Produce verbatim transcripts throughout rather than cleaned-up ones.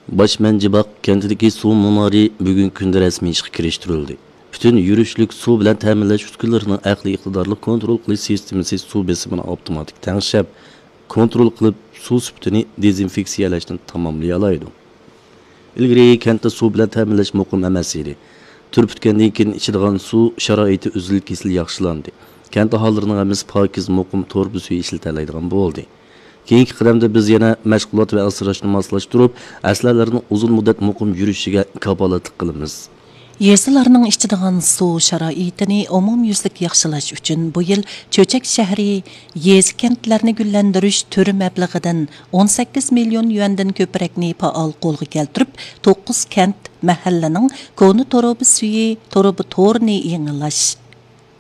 باش مەنجىباق كەنتىدىكى سۇ مۇنارى بۈگۈنكى كۈندە رەسمىي ئىشقا كىرىشتۈرۈلدى. پۈتۈن يۈرۈشلۈك سۇ بىلەن تەمىنلەش ئۈسكۈنىلىرىنىڭ ئەقلىي ئىقتىدارلىق كونترول قىلىش سىستېمىسى سۇ بېسىمىنى ئاپتوماتىك تەڭشەپ، كونترول قىلىپ، سۇ سۈپىتىنى دېزىنفېكسىيەلەشنى تاماملىيالايدۇ. ئىلگىرى كەنتتە سۇ بىلەن تەمىنلەش مۇقىم ئەمەس ئىدى. تۈر پۈتكەندىن كېيىن ئىچىدىغان سۇ شارائىتى ئۈزۈل-كېسىل ياخشىلاندى. كەنت ئاھالىلىرىنىڭ ھەممىسى پاكىز، مۇقىم تۇرۇبا سۈيى ئىشلىتەلەيدىغان بولدى. كېيىنكى قەدەمدە بىز يەنە مەشغۇلات ۋە ئاسراشنى ماسلاشتۇرۇپ، ئەسلىھەلەرنىڭ ئۇزۇن مۇددەت مۇقىم يۈرۈشىگە كاپالەتلىك قىلىمىز. يېزىلارنىڭ ئىچىدىغان سۇ شارائىتىنى ئومۇميۈزلۈك ياخشىلاش ئۈچۈن بۇ يىل چۆچەك شەھىرى يېزا، كەنتلەرنى گۈللەندۈرۈش تۈر مەبلىغىدىن ئون سەككىز مىليون يۈەندىن كۆپرەكنى پائال قولغا كەلتۈرۈپ، توققۇز كەنت، مەھەللىنىڭ كونا تۇرۇبا سۈيى تۇرۇبا تورىنى يېڭىلاش،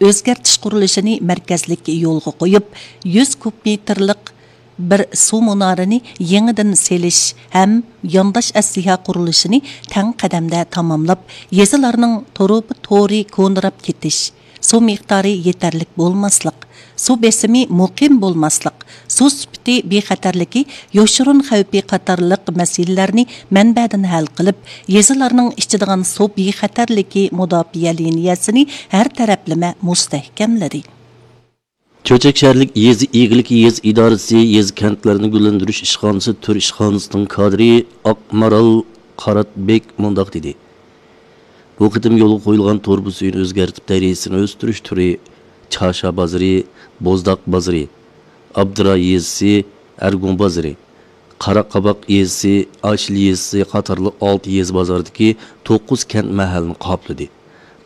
ئۆزگەرتىش قۇرۇلۇشىنى مەركەزلىك يولغا قويۇپ، يۈز كۇب مېتىرلىق بىر سۇ مۇنارىنى يېڭىدىن سېلىش ھەم يانداش ئەسلىھە قۇرۇلۇشىنى تەڭ قەدەمدە تاماملاپ، يېزىلارنىڭ تۇرۇبا تورى كونىراپ كېتىش، سۇ مىقدارى يېتەرلىك بولماسلىق، سۇ بېسىمى مۇقىم بولماسلىق، سۇ سۈپىتى بىخەتەرلىكى يوشۇرۇن خەۋپى قاتارلىق مەسىلىلەرنى مەنبەدىن ھەل قىلىپ، يېزىلارنىڭ ئىچىدىغان سۇ بىخەتەرلىكى مۇداپىئە لىنىيەسىنى ھەر تەرەپلىمە مۇستەھكەملىدى. چۆچەك شەھەرلىك يېزا ئىگىلىكى يېزا ئىدارىسى يېزا، كەنتلەرنى گۈللەندۈرۈش ئىشخانىسى تۈر ئىشخانىسىنىڭ كادىرى ئاقمارال قاراتبېك مۇنداق دېدى: بۇ قېتىم يولغا قويۇلغان تۇرۇبا سۈيىنى ئۆزگەرتىپ، دەرىجىسىنى ئۆستۈرۈش تۈرى چاشا بازىرى، بوزداق بازىرى، ئابدۇرا يېزىسى، ئەرگۇڭ بازىرى، قاراقاباق يېزىسى، ئاشىل يېزىسى قاتارلىق ئالتە يېزا بازاردىكى توققۇز كەنت، مەھەللىنى قاپلىدى.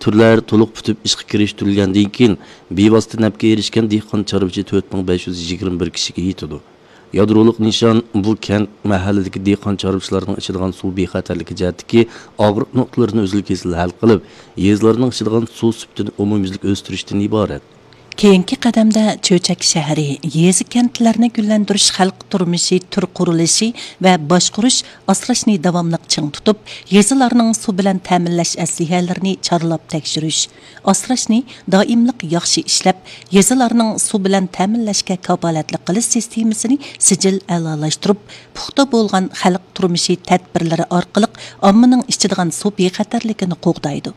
تۈرلەر تولۇق پۈتۈپ ئىشقا كىرىشتۈرۈلگەندىن كېيىن، بىۋاسىتە نەپكە ئېرىشكەن دېھقان، چارۋىچى تۆت مىڭ بەش يۈز يىگىرمە بىر كىشىگە يېتىدۇ. يادرولۇق نىشان بۇ كەنت، مەھەللىدىكى دېھقان، چارۋىچىلارنىڭ ئىچىدىغان سۇ بىخەتەرلىكى جەھەتتىكى ئاغرىق نۇقتىلىرىنى ئۈزۈل-كېسىل ھەل قىلىپ، يېزىلارنىڭ ئىچىدىغان سۇ سۈپىتىنى ئومۇميۈزلۈك ئۆستۈرۈشتىن ئىبارەت. كېيىنكى قەدەمدە چۆچەك شەھىرى يېزا، كەنتلەرنى گۈللەندۈرۈش خەلق تۇرمۇشى تۈر قۇرۇلۇشى ۋە باشقۇرۇش، ئاسراشنى داۋاملىق چىڭ تۇتۇپ، يېزىلارنىڭ سۇ بىلەن تەمىنلەش ئەسلىھەلىرىنى چارلاپ تەكشۈرۈش، ئاسراشنى دائىملىق ياخشى ئىشلەپ، يېزىلارنىڭ سۇ بىلەن تەمىنلەشكە كاپالەتلىك قىلىش سىستېمىسىنى سىجىل ئەلالاشتۇرۇپ، پۇختا بولغان خەلق تۇرمۇشى تەدبىرلىرى ئارقىلىق ئاممىنىڭ ئىچىدىغان سۇ بىخەتەرلىكىنى قوغدايدۇ.